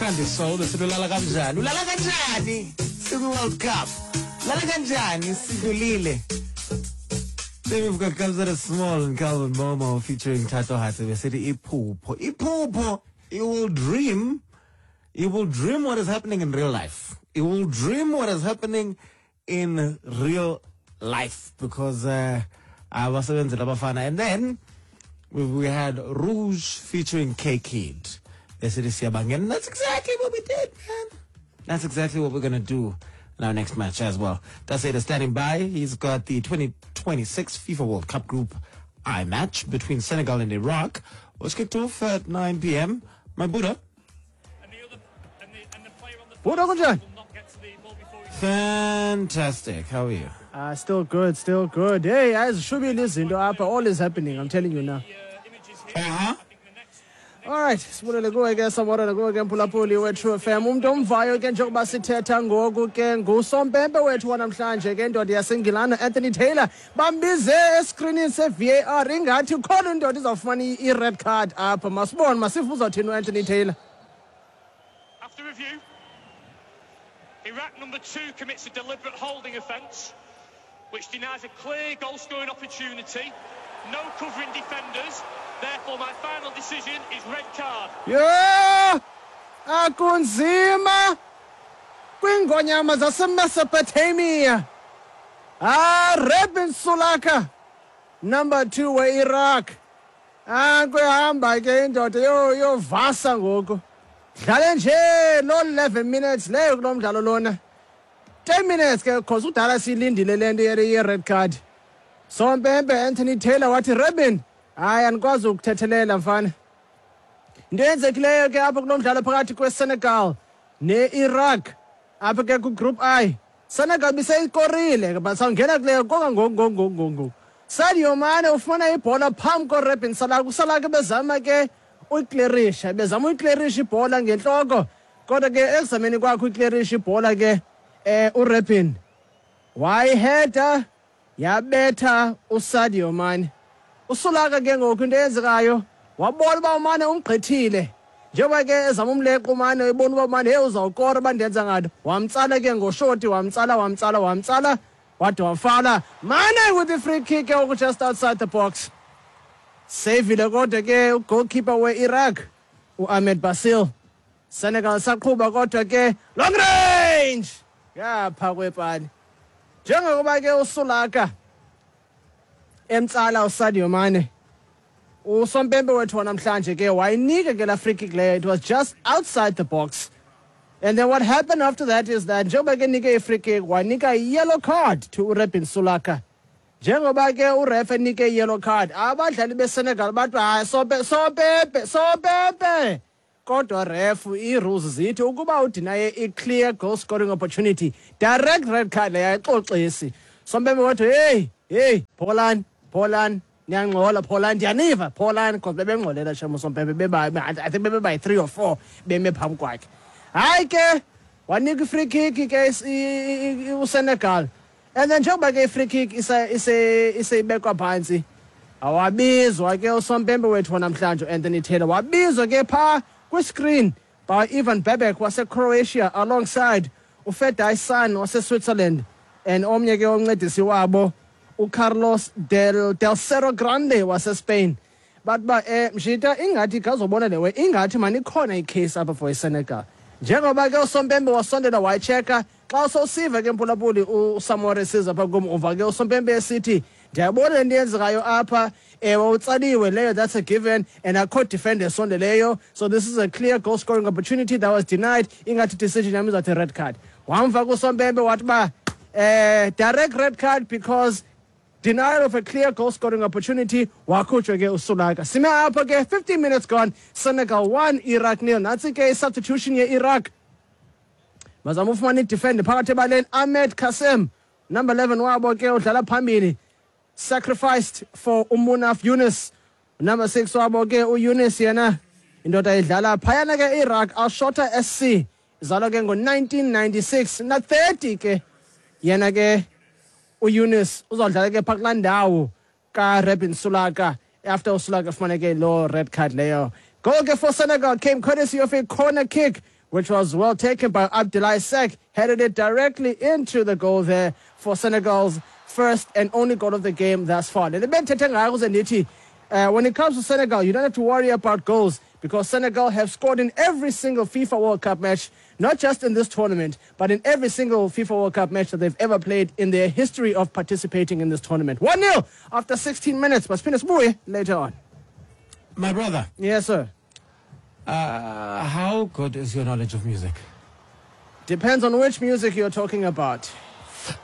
Candy Soul besithi ulala kanjani? Ulala kanjani? Sikwi-World Cup. Ulala kanjani? Sidlulile. Then we've got Kabza Small and Calvin Momo featuring Tato Hatse besithi iphupho. Iphupho, you will dream. You will dream what is happening in real life. You will dream what is happening in real life because abasebenzela abafana. And then we had Rouge featuring K-Kid. Besithi siyabangena. And that's exactly what we did, man. That's exactly what we're going to do in our next match as well. That's it, standing by. He's got the 2026 FIFA World Cup Group I match between Senegal and Iraq, which kicked off at 9 p.m. My Buddha. Buddha kunjani? Fantastic. How are you? Still good, still good. Hey, azishubile izinto apha. All is happening, I'm telling you now. All right, sibulele kuwe ke Samorana, kuwe ke mphulaphuli we-True FM. Umntu omvayo ke njengoba sithetha ngoku ke ngusompempe wethu wanamhlanje ke, indoda yaseNgilana, Anthony Taylor. Bambize eskrinini se-VAR, ingathi khona indoda izawufumana i-red card apha. Masibone, masive uzawuthini uAnthony Taylor. After review, Iraq number 2 commits a deliberate holding offence, which denies a clear goal-scoring opportunity. No covering defenders. Therefore, my final decision is red card. Yho, akunzima kwiingonyama zaseMesopotamia. Ah, Rebin Sulaka, number 2 we-Iraq. Ah, kuyahamba ke indoda yovasa ngoku. Dlale nje lo 11 minutes leyo kulo mdlalo lona. 10 minutes ke, cause udala siyilindile le nto ye-red card. Sompempe Anthony Taylor wathi, "Rebin, hayi, andikwazi ukuthethelela mfana." Into eyenzekileyo ke apha kulo mdlalo phakathi kweSenegal ne-Iraq apha ke ku-Group I, Senegal biseyikorile, but sawungena kuleyo konga ngoku ngoku ngoku ngoku ngoku. Sadio Mane ufumana ibhola phambi koRebin Salah. USalah ke bezama ke uyiklerisha, bezama uyiklerisha ibhola ngentloko, kodwa ke ekuzameni kwakhe uyiklerisha ibhola ke uRebin wayiheda yabetha uSadio Mane. Usulaka ke ngoku into eyenzekayo, wabona uba uMane umgqithile, njengoba ke ezama umleqa uMane, ebona uba uMane, hey, uzawukora uba ndenza ngato, wamtsala ke ngoshoti, wamtsala, wamtsala, wamtsala, wade wafala Mane with the free kick ke ngoku just outside the box. Sevile kodwa ke ugoalkeeper we-Iraq uAhmed Basil. Senegal saqhuba kodwa ke long range ngapha kwepali. Njengokuba ke uSulaka emtsala uSadio Mane, usompempe wethu wanamhlanje ke wayinika ke la free kick leyo. It was just outside the box. And then what happened after that is that njengoba ke nike i-free kick, wanika i-yellow card to uRebin Sulaka. Njengoba ke uref enike i-yellow card, abadlali beSenegal bathi, "Hayi, sope sopepe sopepe." Kodwa ref, ii-rules zithi ukuba udinaye i-clear goal scoring opportunity, direct red card leyo, ayixoxisi. Sompempe wathi, "Hey, hey, pholani, pholani, niyangxola, pholani, ndiyaniva, pholani," because bebengxolela shem usompempe, beba, I think bebeba yi-three or four beme phambi kwakhe. Hayi ke, wanika i-free kick ke uSenegal. And then njengoba ke i-free kick iseyibekwa phantsi, awabizwa ke usompempe wethu wanamhlanje uAnthony Taylor, wabizwa ke phaa kwiscreen by Ivan Bebek waseCroatia alongside uFedai San waseSwitzerland and omnye ke oncedisi wabo uCarlos del Cerro Grande waseSpain. Bathi ba mshita, ingathi khawuzobona le way, ingathi mani ikhona icase apha for iSenegal. Njengoba ke usompempe wasondela wayicheka, xa sowusiva ke mphulaphuli uSamore siza pha kum, uva ke usompempe esithi, "Ndiyabona le nto yenzekayo apha. Ewe, utsaliwe leyo, that's a given, and akho defender esondeleyo, so this is a clear goal scoring opportunity that was denied. Ingathi decision yam izawuthi red card." Wamva kusompempe wathi uba direct red card because denial of a clear goal scoring opportunity. Wakhutshwa ke uSulaka. Sime apho ke, 15 minutes gone, Senegal 1, Iraq nil. Nantsi ke i-substitution ye-Iraq. Bazama ufumana idefender phakathi ebaleni. Ahmed Kasem, number 11 wabo ke, udlala phambili, sacrificed for uMunaf Yunus, number 6 wabo ke. UYunus yena indoda idlala phayana ke Iraq, Al-Shota SC, izalwa ke ngo-1996 na 30 ke yena ke uYunus. Uzawudlala ke phaa kulaa ndawo kaRebin Sulaka after uSulaka efumane ke loo red card leyo. Goal ke for Senegal came courtesy of a corner kick. which was well taken by Abdoulaye Seck, headed it directly into the goal there for Senegal's first and only goal of the game thus far. Le bendithethe ngayo kuze ndithi, when it comes to Senegal, you don't have to worry about goals because Senegal have scored in every single FIFA World Cup match, not just in this tournament, but in every single FIFA World Cup match that they've ever played in their history of participating in this tournament. 1-0 after 16 minutes. But siphinde later on. My brother. Yes, sir. How good is your knowledge of music? Depends on which music you're talking about.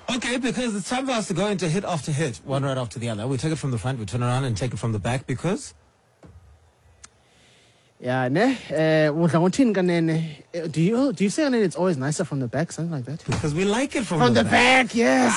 Okay, because it's time for us to go into hit after hit, one right after the other. We take it from the front, we turn around and take it from the back because... Yeah, ne? Do you say it's always nicer from the back, something like that? Because we like it from the back, yes.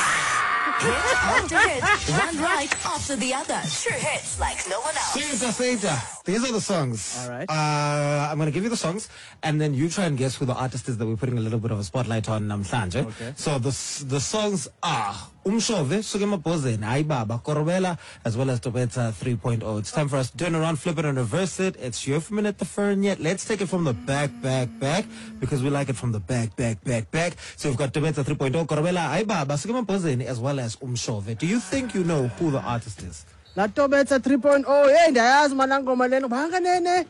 Hit after hit, one right after the other. True hits like no one else. Seta. These are the songs. All right. I'm going to give you the songs, and then you try and guess who the artist is that we're putting a little bit of a spotlight on namhlanje. Okay. So the songs are Umshove, Sukemabhozeni, Hayi Baba, Korobela, as well as Tobetsa 3.0. It's time for us to turn around, flip it, and reverse it. It's your minute the fern yet. Let's take it from the back, back, back, because we like it from the back, back, back, back. So we've got Tobetsa 3.0, Korobela, Hayi Baba, Sukemabhozeni, as well as Umshove. Do you think you know who the artist is? La Tobetsa 3.0. Hey, ndiyayazi mana ngoma lena. Banganene.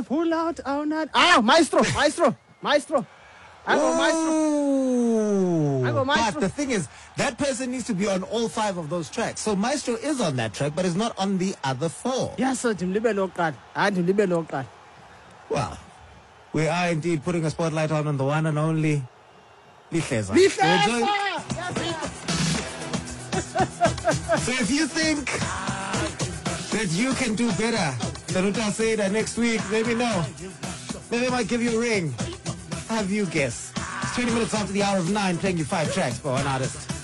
Pull out our not. Maestro, maestro, maestro. I go maestro. I go maestro. But the thing is, that person needs to be on all 5 of those tracks. So Maestro is on that track, but is not on the other 4. Yes, sir. Well, we are indeed putting a spotlight on the one and only Lihleza. Lihleza! So if you think that you can do better than Uta Seda next week, let me know. Maybe I might give you a ring. Have you guess? It's 20 minutes after the hour of 9, playing you 5 tracks by one artist.